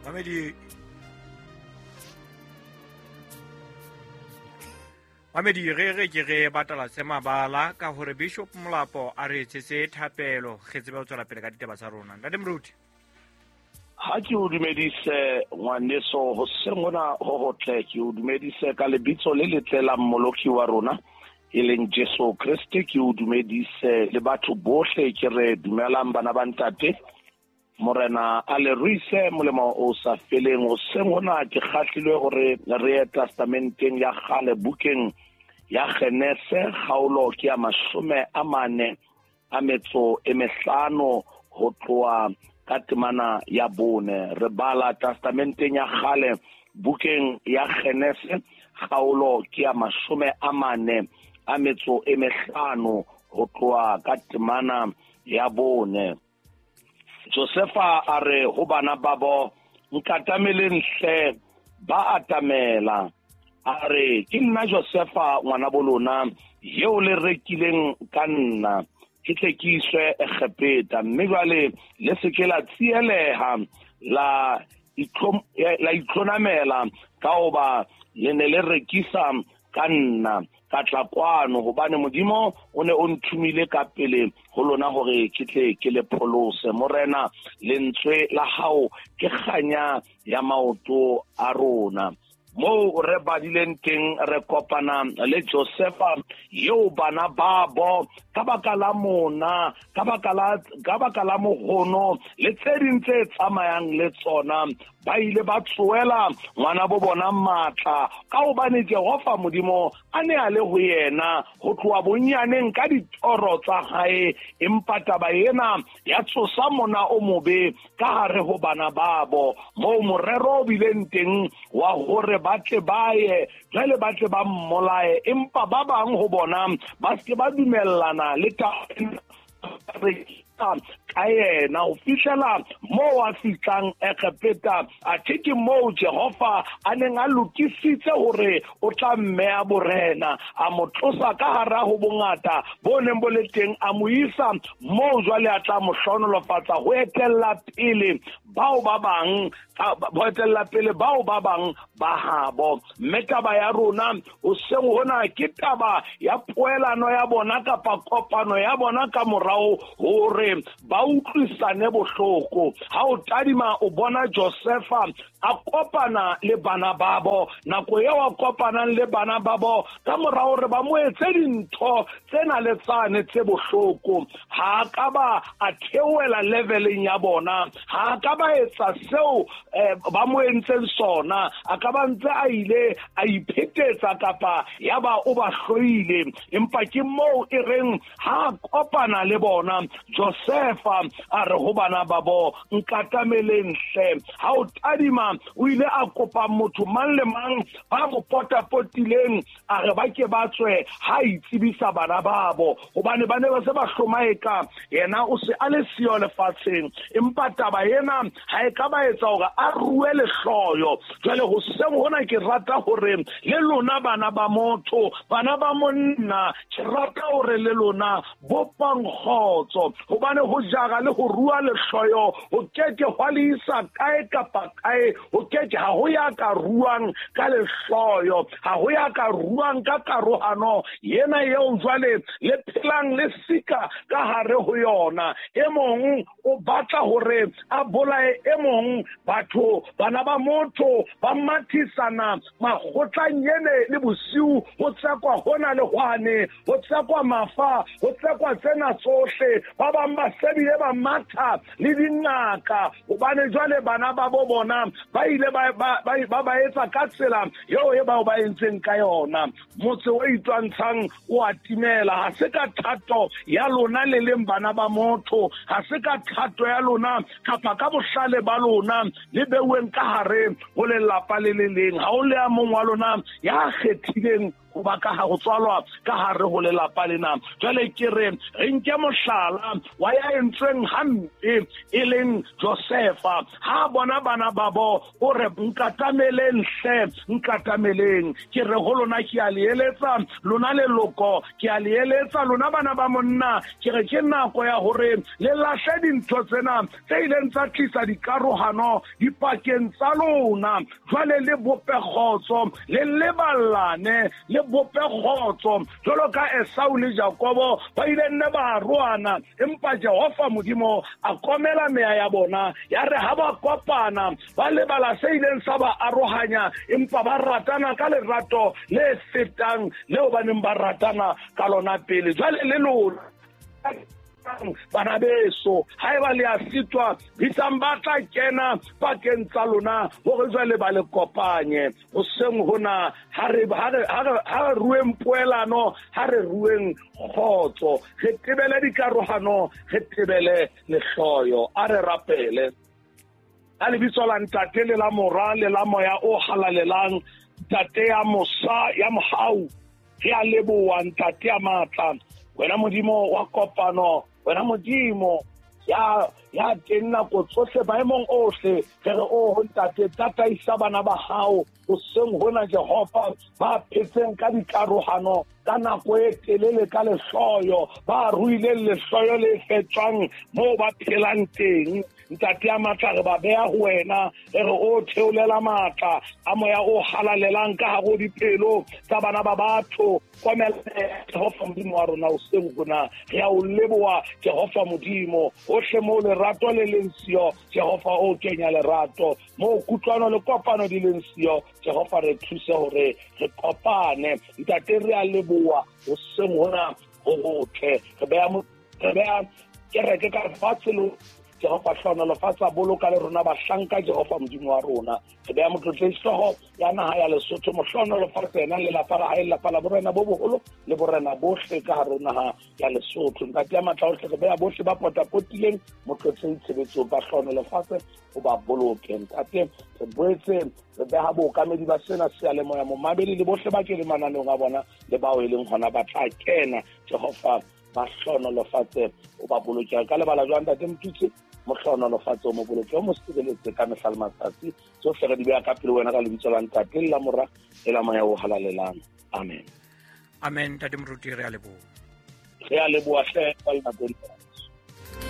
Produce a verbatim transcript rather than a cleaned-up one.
Mamedi Mamedi re re ke re batala se mabala ka hore Bishop Molapo a re etsetse thapelo re tsebe ho tswela pele ka ditaba tsa rona. Ntate Moruti. Ha ke o dumedise ngwaneso hoseng hona ho hotle, ke o dumedise ka lebitso le letle la Mmoloki wa rona e leng Jesu Kreste. Ke o dumedise le batho bohle, ke re dumelang bana ba ntate. Morena a le ruise molemo o sa feleng. Hoseng hona ke kgahlilwe hore re ye testamenteng ya kgale, bukeng ya Genese, kgaolo ke ya mashome a mane a metso e mehlano ho tloha ka temana ya bone. Re bala testamenteng ya kgale, bukeng ya Genese, kgaolo ke ya mashome a mane a metso e mehlano ho tloha ka temana ya bone. Josefa a re ho bana babo, nkatameleng hle. Ba atamela. A re, ke nna Josefa ngwana bo lona, eo le rekileng ka nna, ke tle ke iswe Egepeta. Mme jwale le se ke la tsieleha, la la itlhonamela ka hoba le ne le rekisa ka nna, ka tla kwano, hobane Modimo o ne o nthomile ka pele ho lona hore ke tle ke le pholose. Morena, lentswe la hao ke kganya ya maoto a rona. Moo re badileng teng re kopana le Josefa eo bana babo ka baka la mona, ka baka la ka baka la mohono le tse ding tse tsamayang le tsona, ba ile ba tsoela ngwana bo bona matla, ka hobane Jehova Modimo a ne a le ho yena ho tloha bonyaneng ka ditoro tsa hae. Empa taba ena ya tsosa mona o mobe ka hare ho bana babo, moo morero o bileng teng wa hore ba tle ba ye jwale ba tle ba mmolaye. Empa ba bang ho bona ba se ba dumellana le taba ka yena ho fihlela moo a fihlang Egepeta. Athe ke moo Jehova a neng a lokisitse hore o tla mmeya borena, a mo tlosa ka hara ho bongata bo neng bo le teng, a mo isa moo jwale a tla mo hlohonolofatsa ho etella pele bao ba bang, ho etella pele bao ba bang ba habo. Mme taba ya rona hoseng hona ke taba ya poelano ya bona kapa kopano ya bona ka morao hore ba utlwisane bohloko. Ha o tadima o bona Josefa a kopana le bana babo, nako eo a kopanang le bana babo ka morao hore ba mo etse dintho tsena le tsane tse bohloko, ha a ka ba a theohela leveleng ya bona, ha a ka ba etsa seo ba mo entseng sona, a ka ba ntse a ile a iphetetsa kapa ya ba o ba hloile. Empa ke moo e reng ha a kopana le bona, Josefa a re ho bana babo, nkatameleng hle. Ha o tadima o ile a kopa motho mang le mang ba mo potapotileng, a re ba ke ba tswe ha itsebisa bana babo, hobane ba ne ba se ba hlomaeka yena o se a le siyo lefatsheng. Empa taba ena ha e ka ba etsa hore a rue lehloyo. Jwale hoseng hona ke rata hore le lona bana ba motho, bana ba monna, ke rata hore le lona bopang kgotso, hobane ho jara le ho rua lehloyo ho keke hwa le isa kae kapa kae. Ho keke ha ho ya ka ruang ka lehloyo, ha ho ya ka ruang ka karohano yena eo jwale le phelang le sika ka hare ho yona. E mong o batla hore a bolaye e mong, batho bana ba motho ba mathisana makgotleng ene le bosiu, ho tsekwa hona le hwane, ho tsekwa mafa, ho tsekwa tsena tsohle. Ba bang ba sebile ba matha le dingaka, hobane jwale bana ba bo bona ba ile ba ba ba ba etsa ka tsela eo e bao ba entseng ka yona. Motse o itwantshang o a timela. Ha se ka thato ya lona le leng bana ba motho, ha se ka thato ya lona kapa ka bohlale ba lona le beuweng ka hare ho lelapa le le leng. Ha o le a mong wa lona ya kgethileng ho ba ka ho tswalwa ka hare ho lelapa lena. Jwale ke re re nke mohlala wa ya entsweng hampe e leng Josefa. Ha bona bana babo o re nkatameleng hle, nkatameleng. Ke re ho lona ke a le eletsa, lona leloko ke a le eletsa, lona bana ba monna, ke re ke nako ya hore le lahle dintho tsena tse ileng tsa tlisa dikarohano dipakeng tsa lona. Jwale le bope kgotso, le leballane, le bope kgotso jwalo ka Esau le Jakobo ba ile nne ba arohana, empa Jehova Modimo a komela meya ya bona. Ya re ha ba kopana ba lebala se ileng sa ba arohanya, empa ba ratana ka lerato le fetang leo ba neng ba ratana ka lona pele. Jwale le lona bana beso, haeba le a sitwa, bitsang ba tla kena pakeng tsa lona hore jwale ba le kopanye. Hoseng hona ha re ha re ha re rueng poelano, ha re rueng kgotso, re tebele dikarohano, re tebele lehloyo. A re rapele. Ka lebitso la Ntate le la Mora le la Moya o Halalelang, Ntate ya mosa ya mohau, re a leboha Ntate ya matla, wena Modimo wa kopano, wena Modimo ya ya teng nako tsohle maemong ohle. Re re o Ntate, tataisa bana ba hao hoseng hona Jehova, ba phetseng ka dikarohano ka nako e telele ka lehloyo, ba ruileng lehloyo le fetswang moo ba phelang teng. Ntate ya matla, re ba beha ho wena, re re o theolela matla a Moya o Halalelang ka hare ho dipelo tsa bana ba batho. Komela Jehova Modimo wa rona hoseng hona, re a o leboha Jehova Modimo. Hohle moo lerato le leng siyo, Jehova o kenya lerato. Moo kutlwano le kopano di leng siyo, Jehova re thuse hore re kopane. Ntate, re a leboha hoseng hona ho hotle. Re beha re beha kereke ka lefatshe le Jehova hlohonolofatsa, boloka le rona bahlanka Jehova Modimo wa rona. Re beha motlotlehi hlooho ya naha ya Lesotho, mohlohonolofatse yena le lelapa la hae, lelapa la borena bo boholo le borena bohle ka hare ho naha ya Lesotho. Ntate ya matla ohle, re beha bohle ba potapotileng motlotlehi tshebetsong, ba hlohonolofatse, o ba boloke. Ntate, re boetse re beha bookamedi ba sena seyalemoya, momamedi le bohle ba keneng mananeong a bona le bao e leng hona ba tla kena. Jehova ba hlohonolofatse, o ba boloke. Ka lebala jwang Ntate Motutsi, mohlohonolofatse, o mo boloke, o mo sireletse ka mehla le matsatsi. Tsohle re di beha ka pele wena ka lebitso la Ntate le la Mora le la Moya o Halalelang. Amen. Amen. Ntate Moruti, re a leboha. Re a leboha hle ka nako.